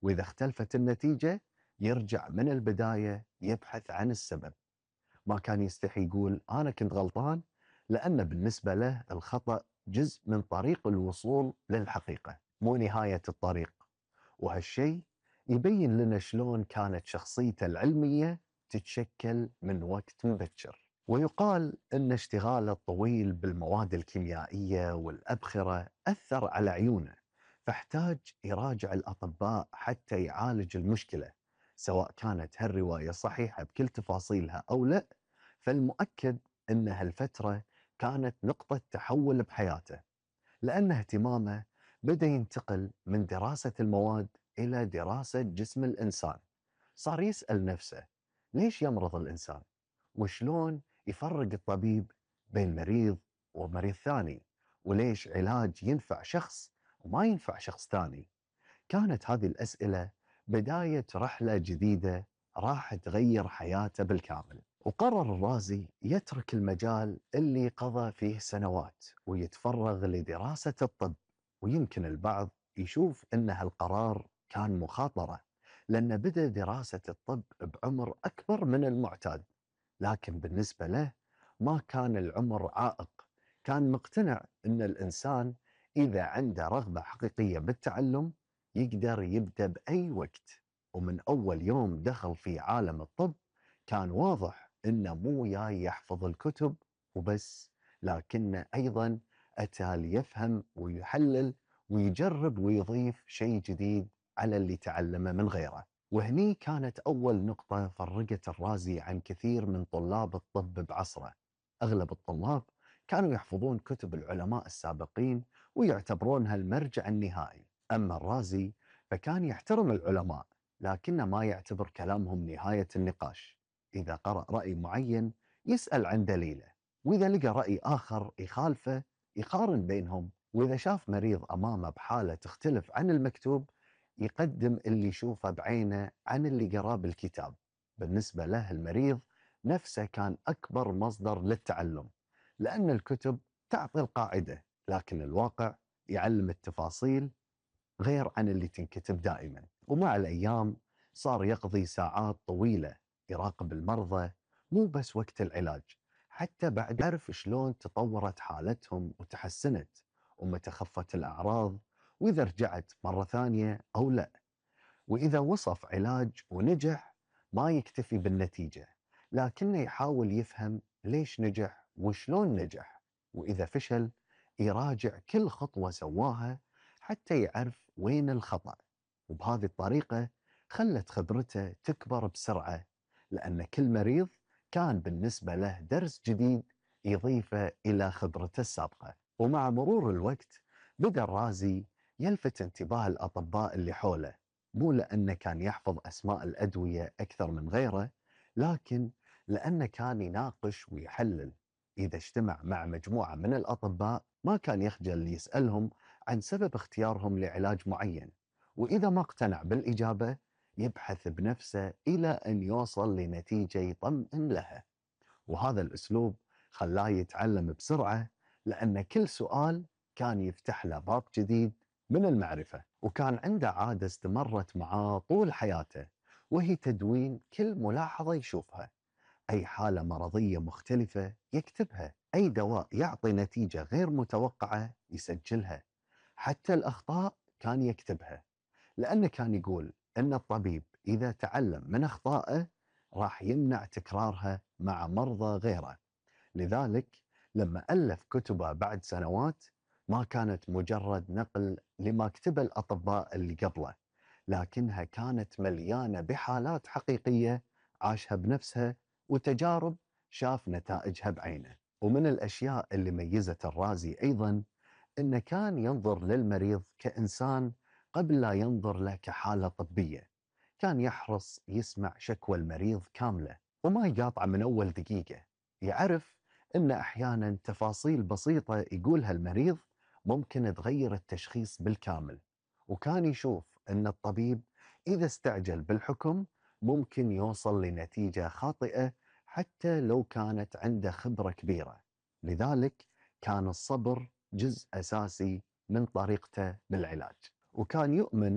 وإذا اختلفت النتيجة يرجع من البداية يبحث عن السبب. ما كان يستحي يقول أنا كنت غلطان، لأن بالنسبة له الخطأ جزء من طريق الوصول للحقيقة مو نهاية الطريق. وهالشيء يبين لنا شلون كانت شخصيته العلمية تتشكل من وقت مبكر. ويقال أن اشتغاله الطويل بالمواد الكيميائية والأبخرة أثر على عيونه، فاحتاج يراجع الأطباء حتى يعالج المشكلة. سواء كانت هالرواية صحيحة بكل تفاصيلها أو لا، فالمؤكد أن هالفترة كانت نقطة تحول بحياته، لأن اهتمامه بدأ ينتقل من دراسة المواد إلى دراسة جسم الإنسان. صار يسأل نفسه ليش يمرض الإنسان؟ وشلون يفرق الطبيب بين مريض ومريض ثاني؟ وليش علاج ينفع شخص وما ينفع شخص ثاني؟ كانت هذه الأسئلة بداية رحلة جديدة راح تغير حياته بالكامل. وقرر الرازي يترك المجال اللي قضى فيه سنوات ويتفرغ لدراسة الطب. ويمكن البعض يشوف أن هالقرار كان مخاطرة، لأن بدأ دراسة الطب بعمر أكبر من المعتاد، لكن بالنسبة له ما كان العمر عائق. كان مقتنع أن الإنسان إذا عنده رغبة حقيقية بالتعلم يقدر يبدأ بأي وقت. ومن أول يوم دخل في عالم الطب كان واضح إنه مو جاي يحفظ الكتب وبس، لكنه أيضا أتى ليفهم ويحلل ويجرب ويضيف شيء جديد على اللي تعلمه من غيره. وهني كانت أول نقطة فرقت الرازي عن كثير من طلاب الطب بعصره. أغلب الطلاب كانوا يحفظون كتب العلماء السابقين ويعتبرونها المرجع النهائي، أما الرازي فكان يحترم العلماء لكنه ما يعتبر كلامهم نهاية النقاش. إذا قرأ رأي معين يسأل عن دليله، وإذا لقى رأي آخر يخالفه يقارن بينهم، وإذا شاف مريض أمامه بحالة تختلف عن المكتوب يقدم اللي يشوفه بعينه عن اللي قراه بالكتاب. بالنسبة له المريض نفسه كان أكبر مصدر للتعلم، لأن الكتب تعطي القاعدة لكن الواقع يعلم التفاصيل غير عن اللي تنكتب دائما. ومع الأيام صار يقضي ساعات طويلة يراقب المرضى، مو بس وقت العلاج، حتى بعد يعرف شلون تطورت حالتهم وتحسنت ومتى خفت الأعراض، وإذا رجعت مرة ثانية أو لا. وإذا وصف علاج ونجح ما يكتفي بالنتيجة، لكنه يحاول يفهم ليش نجح وشلون نجح، وإذا فشل يراجع كل خطوة سواها حتى يعرف وين الخطأ. وبهذه الطريقة خلت خبرته تكبر بسرعة، لأن كل مريض كان بالنسبة له درس جديد يضيفه إلى خبرته السابقة. ومع مرور الوقت بدأ الرازي يلفت انتباه الأطباء اللي حوله، مو لأنه كان يحفظ أسماء الأدوية أكثر من غيره، لكن لأنه كان يناقش ويحلل. إذا اجتمع مع مجموعة من الأطباء ما كان يخجل يسألهم عن سبب اختيارهم لعلاج معين، وإذا ما اقتنع بالإجابة يبحث بنفسه إلى أن يوصل لنتيجة يطمئن لها. وهذا الأسلوب خلاه يتعلم بسرعة، لأن كل سؤال كان يفتح له باب جديد من المعرفة. وكان عنده عادة استمرت معاه طول حياته، وهي تدوين كل ملاحظة يشوفها. أي حالة مرضية مختلفة يكتبها، أي دواء يعطي نتيجة غير متوقعة يسجلها، حتى الأخطاء كان يكتبها، لأنه كان يقول أن الطبيب إذا تعلم من أخطائه راح يمنع تكرارها مع مرضى غيره. لذلك لما ألف كتبه بعد سنوات ما كانت مجرد نقل لما كتب الأطباء اللي قبله، لكنها كانت مليانة بحالات حقيقية عاشها بنفسها وتجارب شاف نتائجها بعينه. ومن الأشياء اللي ميزت الرازي أيضا إنه كان ينظر للمريض كإنسان قبل لا ينظر له كحالة طبية. كان يحرص يسمع شكوى المريض كاملة وما يقاطع من أول دقيقة. يعرف إن أحيانا تفاصيل بسيطة يقولها المريض ممكن تغير التشخيص بالكامل، وكان يشوف أن الطبيب إذا استعجل بالحكم ممكن يوصل لنتيجة خاطئة حتى لو كانت عنده خبرة كبيرة. لذلك كان الصبر جزء أساسي من طريقته بالعلاج، وكان يؤمن